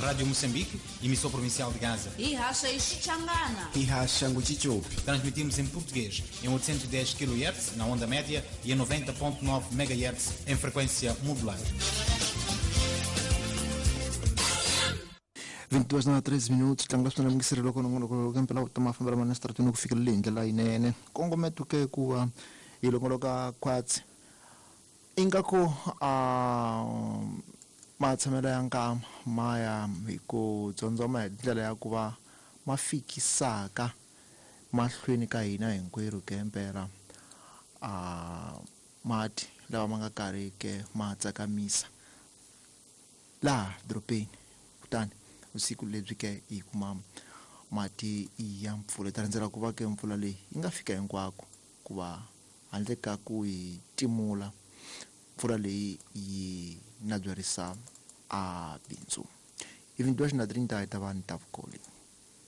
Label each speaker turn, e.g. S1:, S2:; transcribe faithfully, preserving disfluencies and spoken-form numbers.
S1: Rádio Moçambique, emissão provincial de Gaza.
S2: Ihasha Xichangana.
S3: Ihasha Nguchichopi.
S1: Transmitimos em português em oitocentos e dez quilohertz na onda média e em noventa ponto nove megahertz em frequência modular.
S4: vinte e duas na treze minutos tlanga swona mingiseri loko nongonoko kempela ku tama fambela mana stratini ku fikela leyi ndlela yinene kongometo ke ku va hi longoloka khwatsi ingaku a matshamelo ya nkama ma ya hi ku dzondzoma hi ndlela ya ku va ma fikisaka mahlweni ka hina hinkwerhu kempela a mati lawa ma nga karhi ke ma tsakamisa laha dorobeni kutani usiku lebyi ke hi kuma mati ya mpfula ta rindzela ku va ke mpfula leyi yi nga fika hinkwako ku va handle ka ku yi timula mpfula leyi yi na byarisa a bindzu even dois na trinta ta va ni ta vukoli.